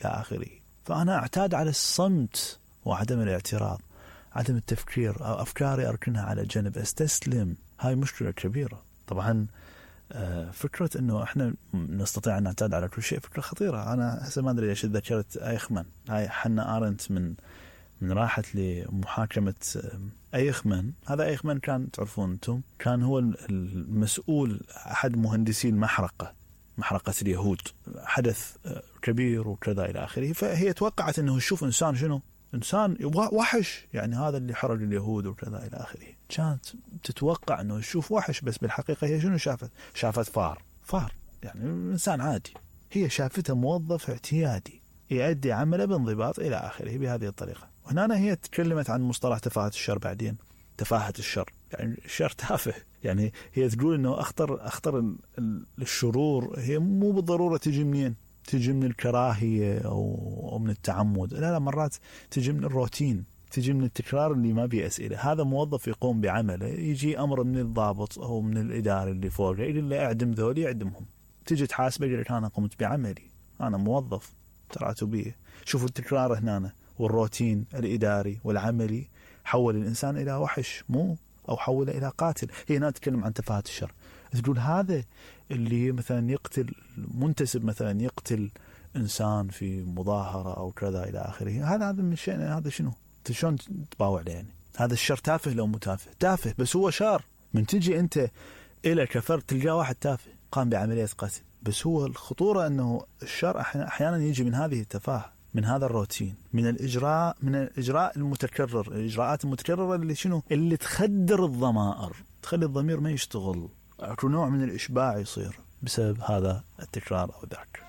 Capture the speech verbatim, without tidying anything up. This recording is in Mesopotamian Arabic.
آخره. فأنا أعتاد على الصمت وعدم الاعتراض، عدم التفكير، أو أفكاري أركنها على جنب، أستسلم. هاي مشكلة كبيرة طبعا. فكرة أنه إحنا نستطيع أن نعتاد على كل شيء فكرة خطيرة. أنا هسه ما أدري ليش ذكرت أيخمن. هاي حنا آرنت من من راحت لمحاكمة أيخمن. هذا أيخمن كان تعرفون أنتم كان هو المسؤول، أحد مهندسي المحرقة، محرقة اليهود، حدث كبير وكذا إلى آخره. فهي توقعت أنه يشوف إنسان شنو، إنسان وحش، يعني هذا اللي حرق اليهود وكذا إلى آخره. كانت تتوقع أنه يشوف وحش، بس بالحقيقة هي شنو شافت؟ شافت فار، فار يعني إنسان عادي. هي شافته موظف اعتيادي يؤدي عمله بانضباط إلى آخره بهذه الطريقة. وهنا هي تكلمت عن مصطلح تفاهة الشر بعدين، تفاهة الشر، يعني الشر تافه. يعني هي تقول إنه أخطر أخطر الشرور هي مو بالضرورة تجي منين، تجي من الكراهية أو من التعمد، لا لا، مرات تجي من الروتين، تجي من التكرار اللي ما بيه أسئلة. هذا موظف يقوم بعمله، يجي أمر من الضابط أو من الإداري اللي فوقه يقول له أعدم ذولي، يعدمهم. تجي تحاسبه يقول لك أنا قمت بعملي، أنا موظف تراتبية. شوفوا التكرار هنا والروتين الإداري والعملي حول الإنسان إلى وحش، مو أو حوله إلى قاتل. هي هنا تتكلم عن تفاهة الشر. تقول هذا اللي مثلا يقتل منتسب، مثلا يقتل إنسان في مظاهرة أو كذا إلى آخره، هذا هذا من شيء، هذا شنو شلون تباوع له؟ يعني هذا الشر تافه لو متافه؟ تافه، بس هو شر. من تجي أنت إلى كفر تلقى واحد تافه قام بعملية قتل، بس هو الخطورة أنه الشر أحيانا يجي من هذه التفاهة، من هذا الروتين، من الإجراء، من الإجراء المتكرر، الإجراءات المتكررة اللي شنو، اللي تخدر الضمائر، تخلي الضمير ما يشتغل، نوع من الإشباع يصير بسبب هذا التكرار أو ذاك.